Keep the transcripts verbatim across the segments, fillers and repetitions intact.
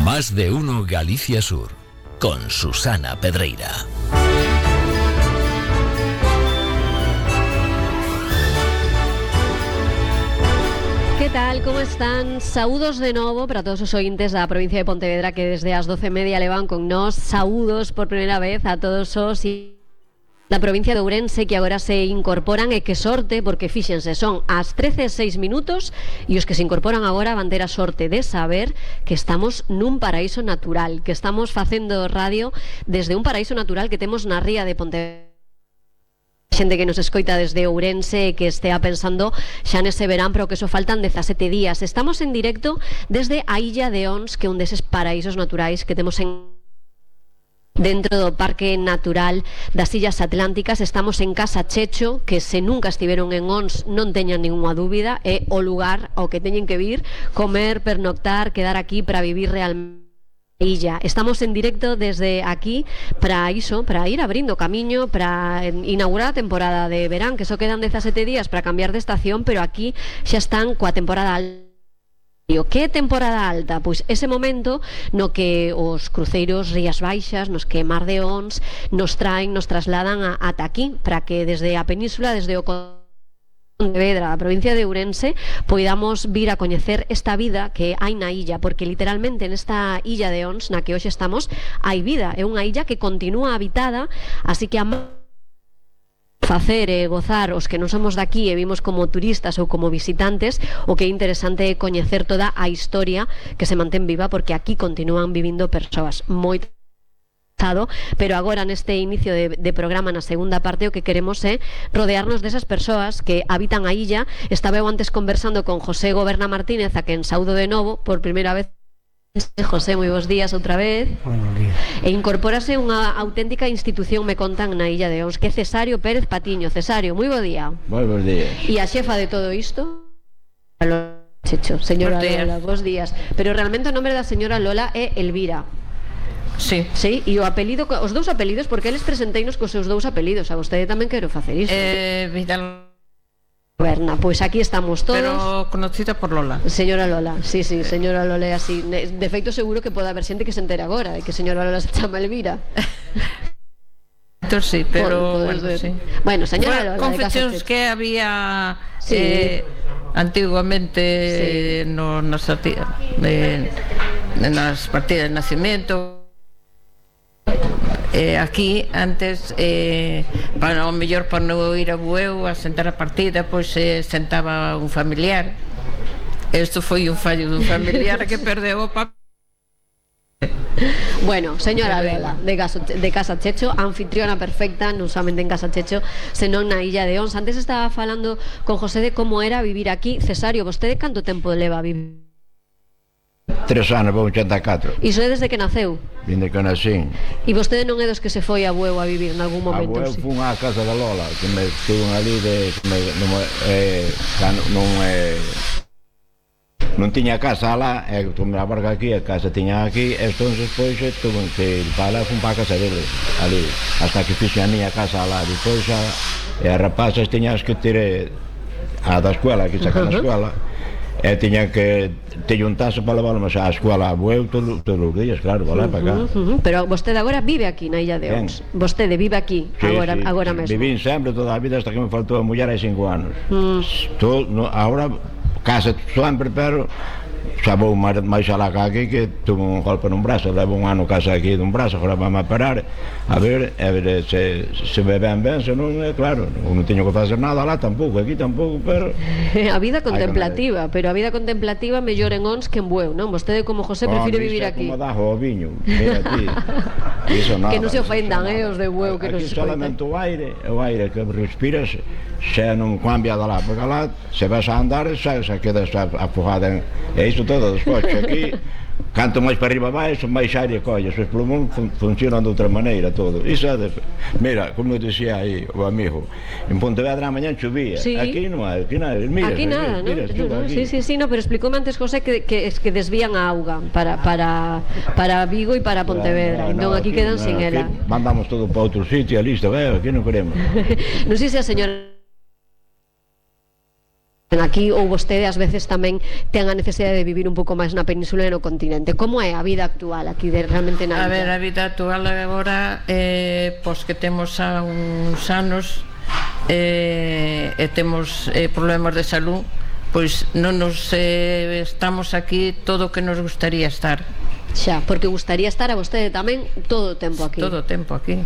Más de uno Galicia Sur, con Susana Pedreira. Que tal, como están? Saúdos de novo para todos os ointes da provincia de Pontevedra que desde as doce e media levan con nós. Saúdos por primeira vez a todos os da provincia de Ourense que agora se incorporan, e que sorte, porque fíxense, son as trece e seis minutos e os que se incorporan agora van ter a sorte de saber que estamos nun paraíso natural, que estamos facendo radio desde un paraíso natural que temos na ría de Pontevedra. Xente que nos escoita desde Ourense e que estea pensando xa nese verán, pero que só faltan dezasete días. Estamos en directo desde a Illa de Ons, que é un deses paraísos naturais que temos en dentro do Parque Natural das Illas Atlánticas. Estamos en Casa Checho, que se nunca estiveron en Ons non teñan ninguna dúbida, é o lugar ao que teñen que vir, comer, pernoctar, quedar aquí para vivir realmente illa. Estamos en directo desde aquí para iso, para ir abrindo camiño, para inaugurar a temporada de verán, que só quedan dezasete días para cambiar de estación, pero aquí xa están coa temporada alta. Que temporada alta? Pois ese momento no que os cruceiros Rías Baixas, nos que Mar de Ons nos traen, nos trasladan a, ata aquí, para que desde a península, desde o Pontevedra, a provincia de Ourense, poidamos vir a coñecer esta vida que hai na illa, porque literalmente nesta illa de Ons na que hoxe estamos hai vida, é unha illa que continúa habitada, así que a facer e gozar os que non somos daqui e vimos como turistas ou como visitantes, o que é interesante é coñecer toda a historia que se mantén viva, porque aquí continúan vivindo persoas moi. Pero agora neste inicio de, de programa, na segunda parte, o que queremos é rodearnos desas persoas que habitan a illa. Estaba eu antes conversando con José Goberna Martínez, a quen saúdo de novo por primeira vez. José, moi bons días outra vez. Buenos días. E incorpórase unha auténtica institución, me contan, na Illa de Ons, que é Cesario Pérez Patiño. Cesario, moi bo día. Moi bons días. E a xefa de todo isto, Checho, señora Lola, bons días. Pero realmente o nome da señora Lola é Elvira. Sí. Sí, e o apelido, os dous apelidos, porque eles presenteinos cos seus dous apelidos. A vostede tamén quero facer iso. Eh, Vidal Berna, pois aquí estamos todos. Pero conocida por Lola. Señora Lola, sí, sí, señora Lola é así. De feito seguro que pode haber xente que se entere agora de que señora Lola se chama Elvira. Entón sí, pero Por, bueno, sí. Bueno, señora Lola, confeccións que había sí. eh, antiguamente sí. no, nas, eh, nas partidas de nacimiento. Eh, aquí antes eh, para o mellor para non ir a bueu a sentar a partida, pois eh, sentaba un familiar. Isto foi un fallo dun familiar que perdeu o papel. Bueno, señora Lola, de, Gaso, de Casa Checho, anfitriona perfecta, non somente en Casa Checho, senón na Illa de Ons. Antes estaba falando con José de como era vivir aquí. Cesario, vostede canto tempo leva a vivir? Tres anos, vou ochenta e catro. Iso é desde que naceu? Vinde que nacín. E vostede non é dos que se foi a Bueu a vivir en algún momento? A Bueu fun á casa da Lola, que me estuvo ali de... Que me, non, eh, non, eh, non tiña casa lá, e tomei a barca aquí, a casa tiña aquí, e entón despois tuve que ir para lá, fun para a casa dele, ali, hasta que fixe a miña casa lá. Depois a, e as rapazas tiñas que tiré a da escuela, que sacan a escuela, e tiñan que te juntarse para levarnos á escola a Bueu todos os días, claro, para lá, para cá. Uh, uh, uh. Pero vostede agora vive aquí na Illa de Ons. Vostede vive aquí, sí, agora, sí, agora sí. mesmo. Vivín sempre toda a vida hasta que me faltou a muller hai cinco anos. Mm. Todo, no, agora casa sempre, pero xa vou máis, máis alá que aquí, que tuve un golpe nun brazo, levo un ano casa aquí dun brazo, agora vamos a parar a ver, a ver se, se me ven ben, se non, é claro, non teño que facer nada lá tampouco, aquí tampouco, pero a vida contemplativa, pero a vida contemplativa mellor en Ons que en Bueu, non? Vostede como José prefire vivir aquí. Como dajo o viño, mira aquí. Iso nada, que non se ofendan, eh, os de Bueu que non se escoitan. Aquí solamente o aire, o aire que respiras, xa non cambia de lá, porque lá se vas a andar, xa, xa quedas afogada en... E iso todo dos coches aquí, canto máis para arriba vais, máis aire colles, os plumón fun, funcionan de outra maneira todo. Iso é de... Mira, como dicía aí o amigo, en Pontevedra a mañá chovía, sí. Aquí non hai, aquí nada, mira, aquí nada, mira, ¿no? mira, no, no, aquí. Sí, sí, sí, no, pero explicoume antes José que, que, que desvían a auga para, para, para Vigo e para Pontevedra, no, no, entón no, aquí, aquí quedan no, sin ela. Mandamos todo para outro sitio, listo, eh, aquí non queremos. Non sei se a señora aquí, ou vostede ás veces tamén ten a necesidade de vivir un pouco máis na península e no continente. Como é a vida actual aquí de, realmente na illa? A ver, a vida actual agora eh, pois que temos a uns anos eh, e temos eh, problemas de salud, pois non nos eh, estamos aquí todo o que nos gustaría estar. Xa, porque gustaría estar a vostede tamén todo o tempo aquí. Todo o tempo aquí.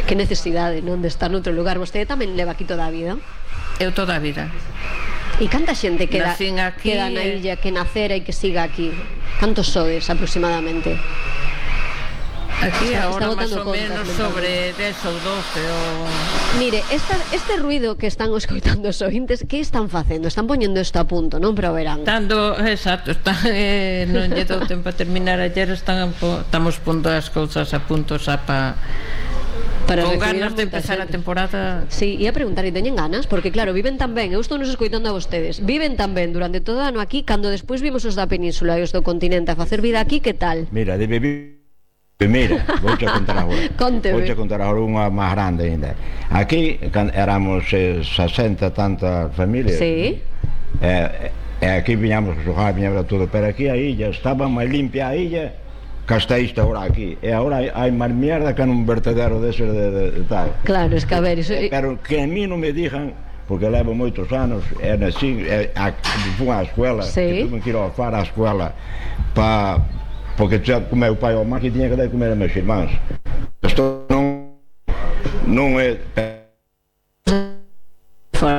Que necesidade, non, de estar noutro lugar. Vostede tamén leva aquí toda a vida? Eu toda a vida. E canta xente queda, aquí, queda na illa, que nacera e que siga aquí? Cantos sodes aproximadamente? Aquí está, agora está máis ou menos sobre dez ou doce ou... Mire, esta, este ruido que están escoitando os ointes, que están facendo? Están poñendo isto a punto, non? Para o verán. Estando, exacto, están, eh, non lle dou tempo a terminar ayer, están, estamos pondo as cousas a punto xa pa... Para con ganas de empezar xente. a temporada. Sí, ia preguntar, e teñen ganas? Porque claro, viven tan ben, eu estou nos escoitando a vostedes, viven tan ben durante todo o ano aquí, cando despois vimos os da península e os do continente a facer vida aquí, que tal? Mira, de vivir. Mira, vou te contar agora. Conteme. Vou te contar agora unha máis grande ainda. Aquí éramos eh, sesenta tantas familias. Sí. E eh, aquí viñamos a xogar, viñamos todo, pero aquí a illa estaba máis limpia a illa que hasta isto agora aquí. E agora hai, hai máis mierda que nun vertedero dese de, de, de tal. Claro, es que a ver, iso... Pero que a mí non me dixan, porque levo moitos anos, e nasci, e, a, fui á escuela, sí. Que tuve que ir ao far á escuela, pa, porque xa, o meu pai ou má que tiña que dar comer a meus irmáns. Isto non, non é...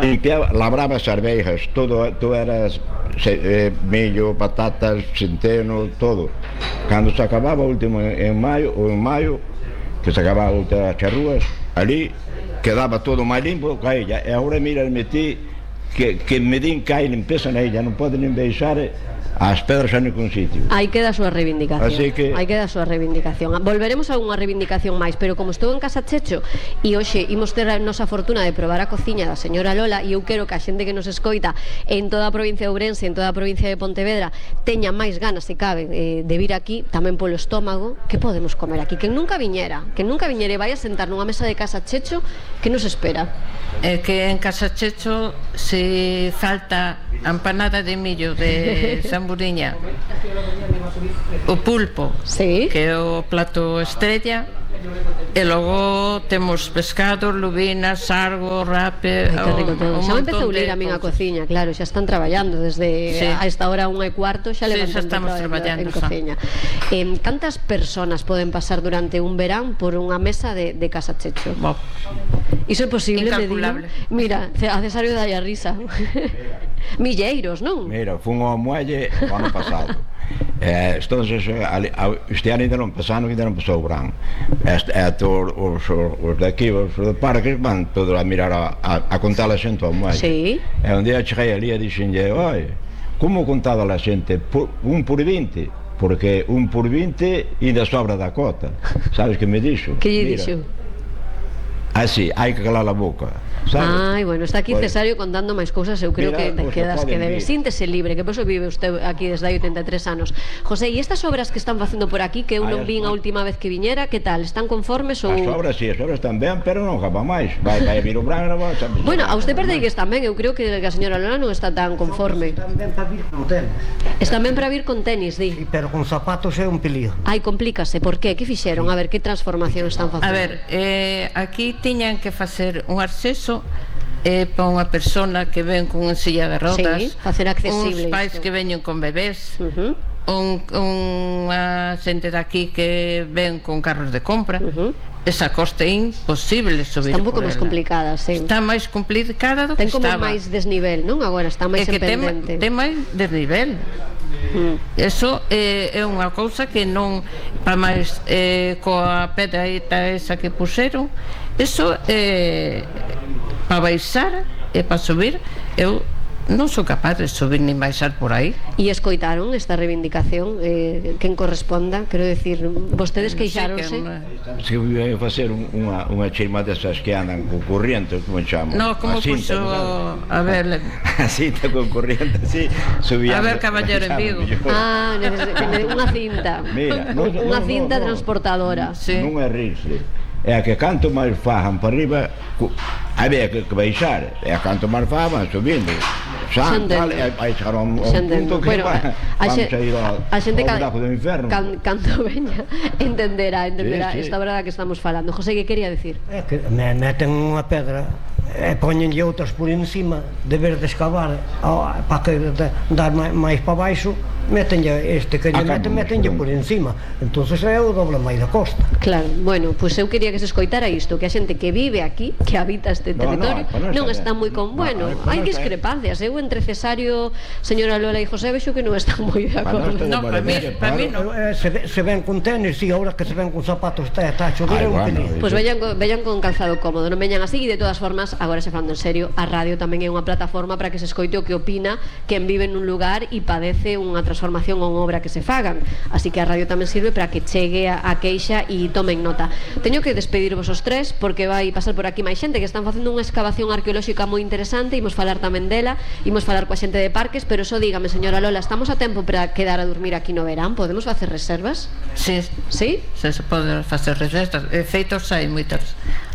Limpiaba, labraba as arvejas, todo, todo era se, eh, millo, patatas, centeno, todo. Cando se acababa o último en, en maio, ou en maio, que se acababa outra charrúas, ali quedaba todo máis limpo ca ella. E agora mira, metí que, que me din que hai limpeza na illa, non pode nin deixar as pedras en ningún sitio. Aí queda a súa reivindicación. Así que... Aí queda a súa reivindicación. Volveremos a unha reivindicación máis, pero como estou en Casa Checho e hoxe imos ter a nosa fortuna de probar a cociña da señora Lola, e eu quero que a xente que nos escoita en toda a provincia de Ourense, en toda a provincia de Pontevedra, teña máis ganas, se cabe, eh, de vir aquí, tamén polo estómago. Que podemos comer aquí? Que nunca viñera, que nunca viñere, vai a sentar nunha mesa de Casa Checho, que nos espera? É que en Casa Checho se falta a empanada de millo de Samburiña, o pulpo, sí, que é o plato estrella, e logo temos pescado, lubinas, sargo, rape. Ai, que rico todo. Xa me empezou a lir a min a cosas. cociña, claro, xa están traballando desde Sí. a esta hora unha e cuarto, xa Sí, levantan xa estamos traballando, en xa. cociña. Eh, cantas personas poden pasar durante un verán por unha mesa de, de Casa Checho? Bo, Iso é posible, me digo. Incalculable. Mira, a Cesario dai a risa. Milleiros, non? Mira, fun ao muelle o ano pasado. Eh, entonces, ali, este ano ainda non pasaron, ainda non pasou o verán. Este, este, os, os, os de aquí, os de parques, van todos a mirar a, a, a contar a xente ao muelle. Sí. E un día cheguei ali e dixenlle, oi, como contaba a xente? Por, un por vinte, porque un por vinte ainda sobra da cota. Sabes que me dixo? Que lle Mira, dixo? así, hai que calar a boca, sabes? Ai, bueno, está aquí Bueno. Cesario contando máis cousas. Eu creo Mira, que te pues, quedas que poden debe. vir. Síntese libre, que por eso vive usted aquí desde hai oitenta e tres anos. José, e estas obras que están facendo por aquí, que eu Ai, non as vin a obras. última vez que viñera, que tal? Están conformes ou... As obras, sí, as obras tamén, pero non acaba máis. Vai, vai vir o verán, non vai, sabes? Bueno, a usted perdeigues tamén, eu creo que a señora Lola non está tan conforme. Tamén para vir con tenis. Están ben para vir con tenis, di. Sí, pero con zapatos é un pelío. Ai, complícase, por qué? Que fixeron? A ver, que transformación están facendo? a ver, eh, aquí tiñan que facer un acceso eh, para unha persona que ven con unha silla de rodas, Sí, facer accesible uns pais isto. que veñen con bebés, Uh -huh, un, unha xente daqui que ven con carros de compra. uh -huh. Esa costa é imposible subir Está un pouco por máis ela. complicada, sí. Está máis complicada do que Ten como estaba. máis desnivel, non? Agora está máis É que en ten, pendente. ten máis desnivel. Mm. Eso é, é unha cousa que non, para máis eh, coa pedraíta esa que puseron, eso é para baixar e para subir. Eu non sou capaz de subir ni baixar por aí. E escoitaron esta reivindicación, eh, quen corresponda, quero decir, vostedes queixáronse? Se eu ia facer un, unha, unha chima desas que andan con corriente, como chamo? No, como A cinta, puxo, non sabes? a ver, A cinta con corriente, así, subían. A ver, caballero en Vigo. Ah, neces- que- unha cinta. Mira, no, Unha no, cinta no, no. transportadora. Sí. Non é rirse. É a que canto máis fajan para arriba, cu- había que, que baixar. É a canto máis fajan, van subindo. Xa San, entendo. tal, e vai chegar a un, a Xa un entendo. punto que Bueno, va, a- a vamos xe- a ir ao, a xente ao ca- buraco do inferno. Can, cando veña entenderá, entenderá Sí, sí. esta verdade que estamos falando. José, que quería decir? É que me meten unha pedra e poñenlle outras por encima, de vez de escavar para que da- dar máis, máis para baixo, metenlle este que lle Acá meten, non, metenlle non. por encima. Entonces é o doble máis da costa. Claro, bueno, pois pues eu quería que se escoitara isto, que a xente que vive aquí, que habita este No, no, territorio, pa non non está está ben. moi con, No, bueno, no, pa hai non está ben. discrepancias. Eu entre Cesario, señora Lola e José vexo que non están moi de Pa non acordo. está de No, pa mí, maravilla, pa mí claro. no. Eh, Se, ve- se ven con tenis, si, ahora que se ven con zapatos está, está a chover, Ai, é un bueno, peligro. Pois pues veñan, co- veñan con calzado cómodo, non veñan así, e de todas formas, agora se falando en serio, a radio tamén é unha plataforma para que se escoite o que opina quen vive nun lugar e padece unha transformación ou unha obra que se fagan. Así que a radio tamén sirve para que chegue a, a queixa e tomen nota. Teño que despedirvos os tres porque vai pasar por aquí máis xente que están facendo unha excavación arqueolóxica moi interesante, imos falar tamén dela, imos falar coa xente de parques, pero só dígame, señora Lola, estamos a tempo para quedar a dormir aquí no verán? Podemos facer reservas? Sí, Sí? se se pode facer reservas. E feitos hai moitas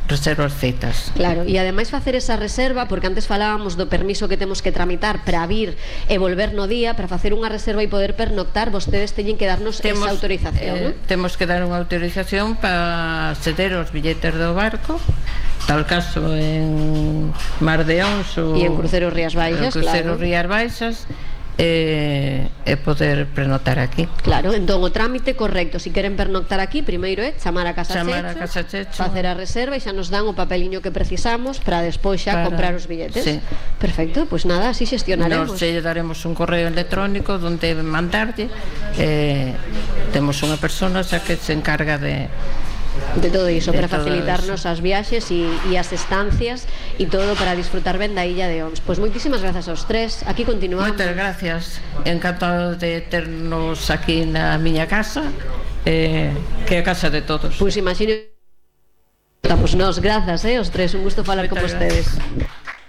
reservas feitas. Claro, e ademais facer esa reserva, porque antes falábamos do permiso que temos que tramitar para vir e volver no día, para facer unha reserva e poder pernoctar, vostedes teñen que darnos esa autorización, eh, non? Temos que dar unha autorización para ceder os billetes do barco, tal caso en Mar de Ons ou E en Cruceros Rías Baixas, en Cruceros claro. Rías Baixas, e, e poder prenotar aquí. Claro, entón o trámite correcto, se si queren pernoctar aquí, primeiro é chamar a Casa Chamar a Checho, Casa Checho. facer a reserva e xa nos dan o papeliño que precisamos para despois xa Para- comprar os billetes. sí. Perfecto, pois pues nada, así xestionaremos. Nos lle daremos un correo electrónico donde mandarlle, eh, temos unha persona xa que se encarga de De todo iso, de para todo facilitarnos as viaxes e, e as estancias e todo para disfrutar ben da illa de Ons. Pois moitísimas grazas aos tres, aquí continuamos. Moitas gracias, encantado de ternos aquí na miña casa, eh, que é a casa de todos. Pois imagino. Estamos nós, grazas, eh, os tres, un gusto falar con Moitas vostedes. gracias.